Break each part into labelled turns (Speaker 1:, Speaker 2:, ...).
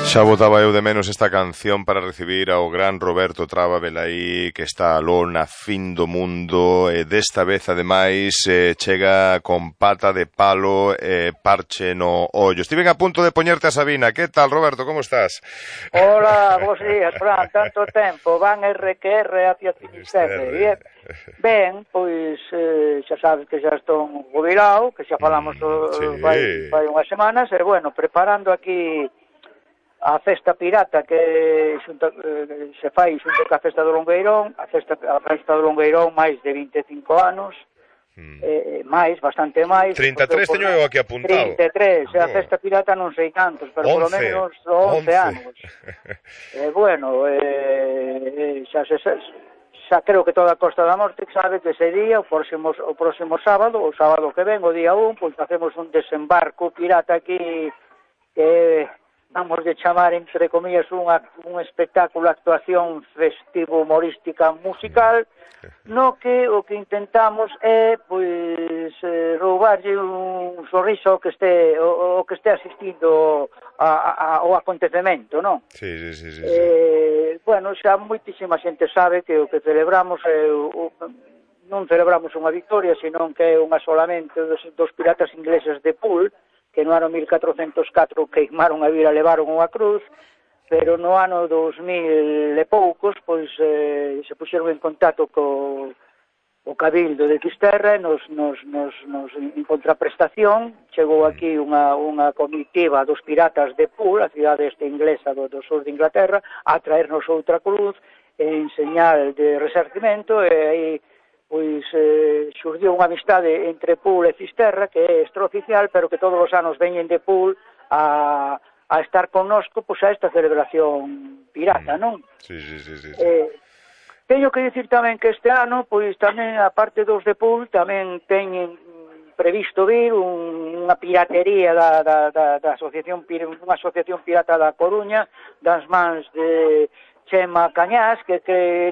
Speaker 1: Xa botaba eu de menos esta canción para recibir ao gran Roberto Traba Velaí, que está aló na fin do mundo, e desta vez, ademais, chega con pata de palo e parche no ollo. Estiven a punto de poñerte a Sabina. Que tal, Roberto, como estás?
Speaker 2: Hola, bos días, Fran, tanto tempo, van RQR hacia Finisterre. Ben, pois xa sabes que xa estou jubilado, que xa falamos fai unhas semanas, e bueno, preparando aquí a festa pirata que se fai xunto ca festa do Longueirón, a festa do Longueirón máis de 25 anos, máis, bastante máis.
Speaker 1: 33 teño eu aquí apuntado.
Speaker 2: 33, a festa pirata non sei cantos, pero polo menos 11 anos. Bueno, xa creo que toda a Costa da Morte sabe que ese día, o próximo sábado, o sábado que ven, o día 1, pois facemos un desembarco pirata aquí que vamos de chamar, entre comillas, un espectáculo, actuación festivo, humorística, musical, no que o que intentamos é, pois, roubarlle un sorriso que este asistindo ao acontecemento, non?
Speaker 1: Sí.
Speaker 2: Bueno, xa moitísima xente sabe que o que celebramos non celebramos unha victoria, senón que é unha solamente dos piratas ingleses de Poole, que no ano 1404 queimaron a vila, levaron unha cruz, pero no ano 2000 e poucos, pois se puxeron en contacto co Cabildo de Fisterra, en contraprestación, chegou aquí unha comitiva dos piratas de Poole, a cidade inglesa do sur de Inglaterra, a traernos outra cruz en señal de resarcimento, e aí pois xurdiu unha amistade entre Poole e Fisterra, que é extraoficial, pero que todos os anos veñen de Poole a estar connosco pois a esta celebración pirata, non?
Speaker 1: Sí.
Speaker 2: Teño que dicir tamén que este ano, pois tamén, a parte dos de Poole, tamén teñen previsto vir unha piratería da asociación, unha asociación pirata da Coruña, das mans de Chema Cañás, que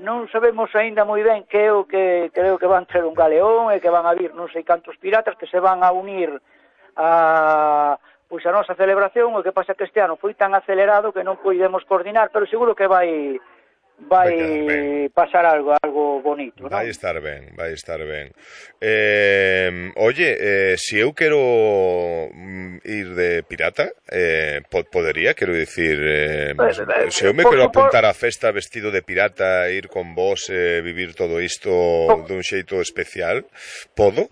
Speaker 2: non sabemos aínda moi ben que é o que creo que van ter un galeón e que van a vir non sei cantos piratas que se van a unir a nosa celebración. O que pasa que este ano foi tan acelerado que non podemos coordinar, pero seguro que vai pasar algo bonito, non?
Speaker 1: Vai estar ben. Oye, se eu quero ir de pirata, podería, quero dicir, se eu me quero apuntar á festa vestido de pirata, ir con vos, vivir todo isto dun xeito especial, podo?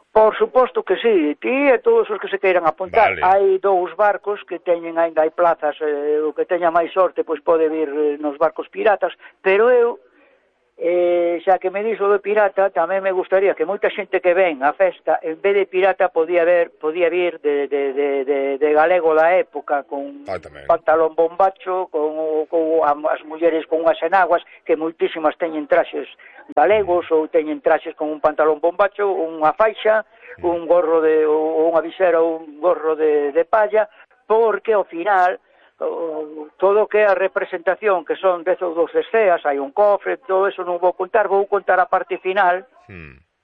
Speaker 2: Por suposto que sí, ti e todos os que se queiran apuntar.
Speaker 1: Vale.
Speaker 2: Hai 2 barcos que teñen, ainda hai plazas, o que teña máis sorte pois pode vir nos barcos piratas, pero eu, xa que me dixo de pirata, tamén me gustaría que moita xente que ven a festa, en vez de pirata, podía vir de galego da época, con pantalón bombacho, con as mulleres con unhas enaguas, que moitísimas teñen traxes galegos, ou teñen traxes con un pantalón bombacho, unha faixa, un gorro ou unha visera, ou un gorro de palla, porque ao final todo o que é a representación, que son 10 ou 12 esceas, hai un cofre, todo eso non vou contar a parte final,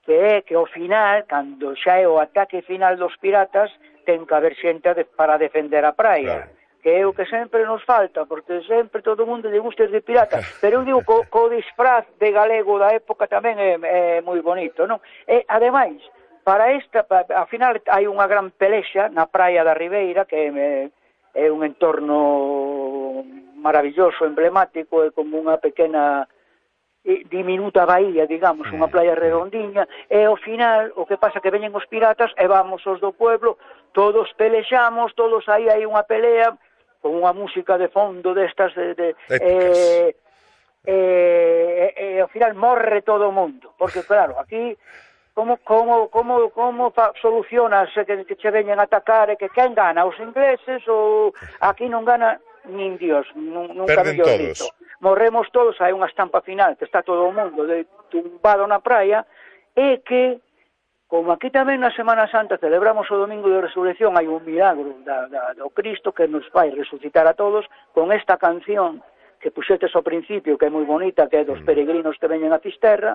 Speaker 2: que é que ao final, cando xa é o ataque final dos piratas, ten que haber xente para defender a praia. Claro. Que é o que sempre nos falta, porque sempre todo o mundo lle gusta de pirata, pero eu digo co disfraz de galego da época tamén é moi bonito, non? E, ademais, para esta, ao final hai unha gran pelexa na praia da Ribeira, que é un entorno maravilloso, emblemático, é como unha pequena diminuta bahía, digamos, unha playa redondiña, e ao final o que pasa que veñen os piratas e vamos os do pueblo, todos pelexamos, todos aí hai unha pelea, con unha música de fondo destas ao final morre todo o mundo, porque claro, aquí como solucionas que che veñen a atacar e que quen gana, os ingleses ou aquí non gana nin Dios, nunca mellor dito. Morremos todos, hai unha estampa final que está todo o mundo tumbado na praia, e que como aquí tamén na Semana Santa celebramos o Domingo de Resurrección, hai un milagro do Cristo que nos vai resucitar a todos, con esta canción que puxetes ao principio, que é moi bonita, que é dos peregrinos que veñen a Fisterra.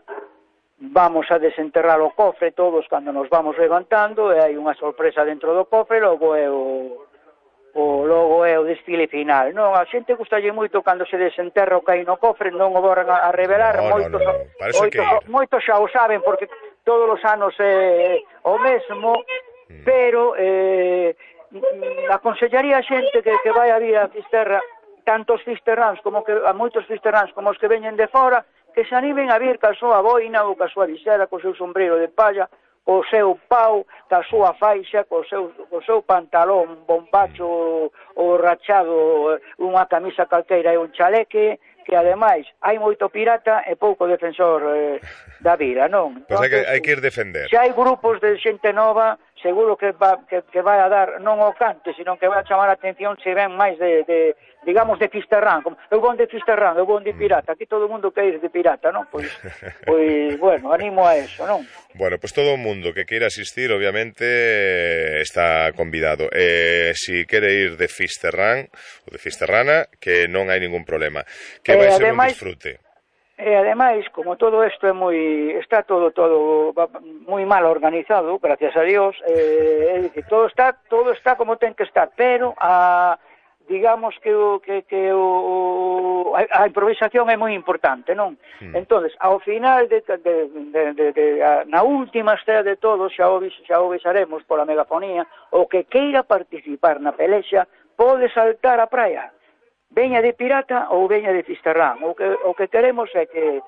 Speaker 2: Vamos a desenterrar o cofre todos cando nos vamos levantando, e hai unha sorpresa dentro do cofre, logo é o desfile final, non? A xente gustalle moito cando se desenterra o caí no cofre, non o voran a revelar, moitos xa o saben, porque todos os anos é o mesmo, pero aconsellaría a xente que vai a vir a Fisterra, tanto os fisterráns como que a moitos fisterráns como os que veñen de fora, que se animen a vir ca súa boina ou ca súa visera, co seu sombreiro de palla, co seu pau, ca súa faixa, co seu pantalón bombacho ou rachado, unha camisa calqueira e un chaleque, que ademais hai moito pirata e pouco defensor da vida, non?
Speaker 1: Pois hai que ir defender.
Speaker 2: Se hai grupos de xente nova, seguro que vai a dar non o cante, sino que vai a chamar a atención se ven máis digamos de Fisterrán, eu vou de Fisterrán, eu vou de pirata, aquí todo o mundo quer ir de pirata, non? Pois bueno, animo a eso, non?
Speaker 1: Bueno, pues todo o mundo que queira asistir, obviamente, está convidado. Si quere ir de Fisterrán ou de Fisterrana, que non hai ningún problema. Que vai ser un disfrute.
Speaker 2: E ademais, como todo isto está todo moi mal organizado, gracias a Dios, todo está como ten que estar, pero digamos que a improvisación é moi importante, non? Entonces, ao final na última estrela de todo, xa o avisaremos pola megafonía, o que queira participar na pelexa pode saltar a praia, veña de pirata ou veña de Fisterrán. O que queremos é que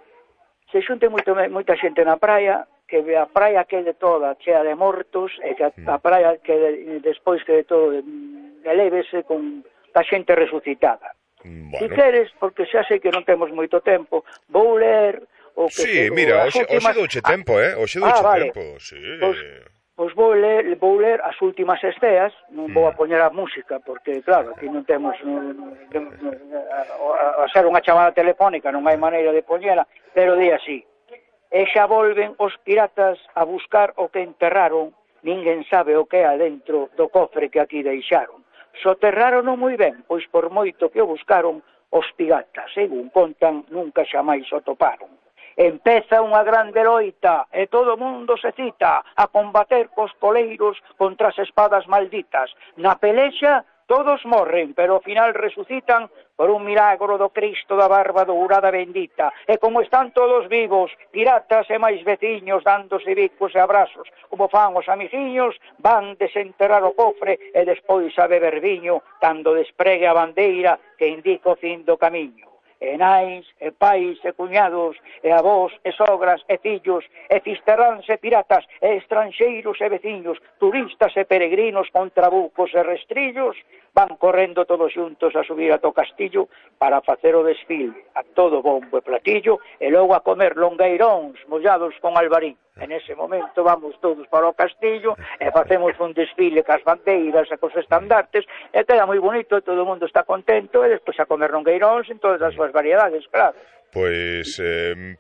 Speaker 2: se xunte moita xente na praia, que a praia quede toda chea de mortos, e que a praia despois quede todo elévese con a xente resucitada.
Speaker 1: Bueno.
Speaker 2: Si queres, porque xa sei que non temos moito tempo, vou ler o que...
Speaker 1: Sí, mira, hoxe douche tempo, hoxe douche tempo, sí.
Speaker 2: Pois vou ler as últimas esteas, non vou a poñer a música, porque, claro, aquí non temos... a ser unha chamada telefónica non hai maneira de poñela, pero di así: e xa volven os piratas a buscar o que enterraron, ninguén sabe o que é adentro do cofre que aquí deixaron. Soterraron moi ben, pois por moito que o buscaron, os piratas, según contan, nunca xamais o toparon. Empeza unha grande loita e todo o mundo se cita a combater cos poleiros contra as espadas malditas. Na pelexa todos morren, pero ao final resucitan por un milagro do Cristo da barba dourada bendita. E como están todos vivos, piratas e máis veciños dándose bicos e abrazos, como fan os amiguiños, van desenterrar o cofre e despois a beber viño, cando despregue a bandeira que indica o fin do camiño. E nais, e pais, e cuñados, e avós, e sogras, e fillos, e fisterráns, e piratas, e estranxeiros, e veciños, turistas e peregrinos con trabucos e restrillos, van correndo todos xuntos a subir a to castillo para facer o desfile, a todo bombo e platillo, e logo a comer longueiróns mollados con albarín. En ese momento vamos todos para o castillo e facemos un desfile cas bandeiras e cos estandartes, e queda moi bonito, todo o mundo está contento, e despois a comer longueiróns en todas as súas variedades, claro.
Speaker 1: Pois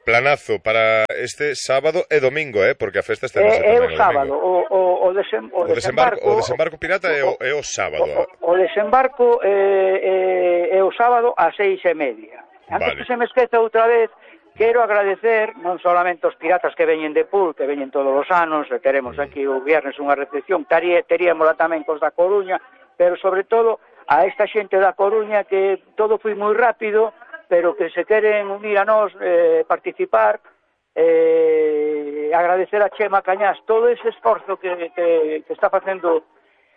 Speaker 1: planazo para este sábado e domingo, porque a festa está
Speaker 2: é o sábado, o
Speaker 1: desembarco pirata é o sábado.
Speaker 2: O desembarco é o sábado ás 6:30. Antes que se me esqueza outra vez, quero agradecer non solamente aos piratas que veñen de Pool, que veñen todos os anos, e teremos aquí o viernes unha recepción, teríamola tamén cos da Coruña, pero sobre todo a esta xente da Coruña que todo foi moi rápido, pero que se queren unir a nós, participar, agradecer a Chema Cañás todo ese esforzo que está facendo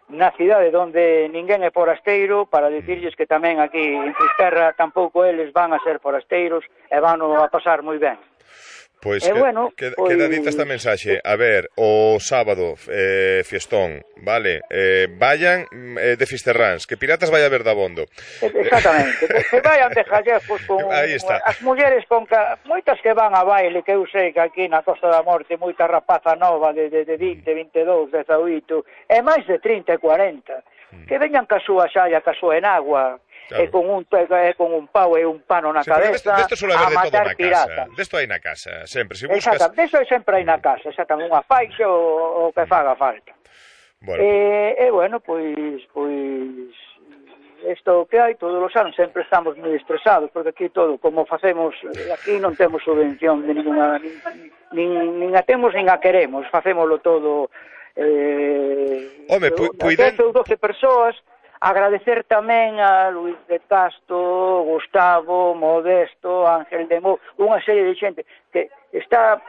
Speaker 2: na cidade onde ninguén é forasteiro, para dicirlles que tamén aquí en Fisterra tampouco eles van a ser forasteiros e van a pasar moi ben.
Speaker 1: Pois queda dita esta mensaxe. A ver, o sábado fiestón, vale, vayan de Fisterráns, que piratas vai a ver dabondo.
Speaker 2: Exactamente, que vayan de jallejos con as mulleres con moitas que van a baile, que eu sei que aquí na Costa da Morte moita rapaza nova de 20, 22, 18 e máis de 30 e 40 que veñan ca súa xalla, ca súa enagua. Claro. E con un pau e un pano na cabeza a matar pirata.
Speaker 1: Desto hai na casa, sempre. Se buscas...
Speaker 2: Exacto, desto sempre hai na casa, exactamente, unha faixa o que faga falta. Bueno. Bueno, pois isto que hai todos os anos, sempre estamos moi estresados, porque aquí todo, como facemos, aquí non temos subvención de ninguna, nin a temos nin a queremos, facémoslo todo 10 ou 12 persoas. Agradecer tamén a Luis de Castro, Gustavo, Modesto, Ángel de Mou, unha serie de xente que está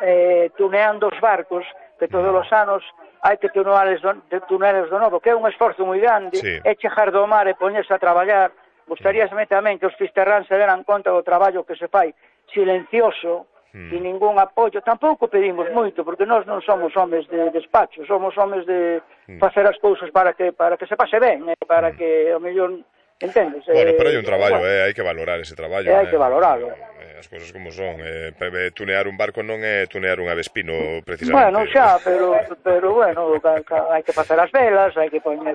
Speaker 2: tuneando os barcos, que todos os anos hai que tuneales do novo, que é un esforzo moi grande, é chegar do mar e poñerse a traballar. Gustaríasme tamén que os fisterráns se deran conta do traballo que se fai silencioso, e ningún apoio. Tampouco pedimos moito, porque nós non somos homes de despacho, somos homes de facer as cousas para que se pase ben, para que o mellor, entendes?
Speaker 1: Bueno, pero hai un traballo, hai que valorar ese traballo.
Speaker 2: Hai que valorarlo.
Speaker 1: As cousas como son, tunear un barco non é tunear un avespino, precisamente.
Speaker 2: Bueno, xa, pero bueno, hai que facer as velas, hai que poñer...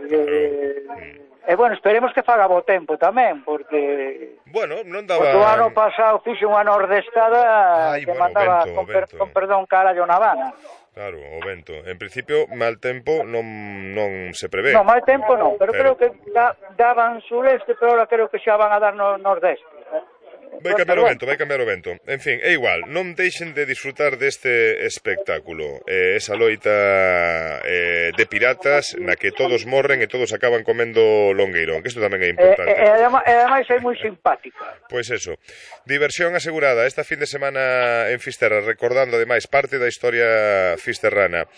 Speaker 2: E bueno, esperemos que faga bo tempo tamén, porque...
Speaker 1: Bueno, non daba...
Speaker 2: Porque o ano pasado fixe unha nordestada que mandaba, con perdón, carallo na vana.
Speaker 1: Claro, o vento. En principio, mal tempo non se prevé.
Speaker 2: Non, mal tempo non, pero creo que daban sureste, pero ahora creo que xa van a dar no nordeste.
Speaker 1: Vai cambiar o vento. En fin, é igual, non deixen de disfrutar deste espectáculo. Esa loita de piratas na que todos morren e todos acaban comendo longueirón, que isto tamén é importante.
Speaker 2: E ademais é moi simpática.
Speaker 1: Pois eso, diversión asegurada esta fin de semana en Fisterra, recordando ademais parte da historia fisterrana.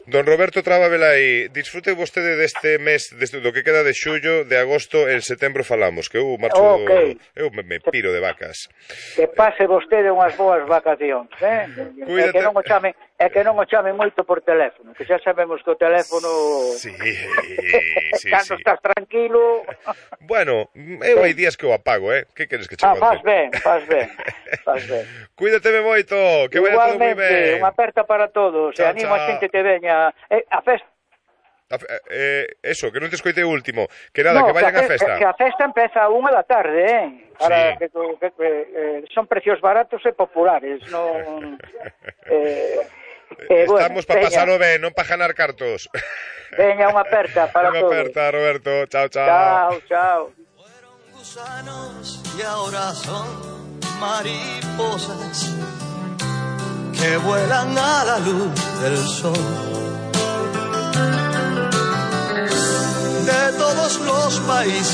Speaker 1: Don Roberto Traba Velai, disfrute vostede deste mes, do que queda de xullo, de agosto, en setembro falamos, que eu marcho, eu me piro de vacas.
Speaker 2: Que pase vostede unhas boas vacacións,
Speaker 1: Cuídate.
Speaker 2: que non o chame moito por teléfono, que xa sabemos que o teléfono...
Speaker 1: Sí.
Speaker 2: Cando estás tranquilo...
Speaker 1: Bueno, eu hai días que o apago, Que queres que che conte?
Speaker 2: Faz ben.
Speaker 1: Cuídateme moito, que vaya todo moi ben.
Speaker 2: Igualmente, unha aperta para todos, e animo a xente que veña a festa.
Speaker 1: Eso, que non te escoitei o último. Que nada, que vayan a festa.
Speaker 2: Que a festa empeza a 1 da tarde, Para que son precios baratos e populares, non...
Speaker 1: Estamos para pasalo ben, non para ganar cartos.
Speaker 2: Veña, unha aperta para todos.
Speaker 1: Unha aperta, Roberto. Chao.
Speaker 2: Chao.
Speaker 3: Fueron gusanos y ahora son mariposas que vuelan a la luz del sol. De todos los países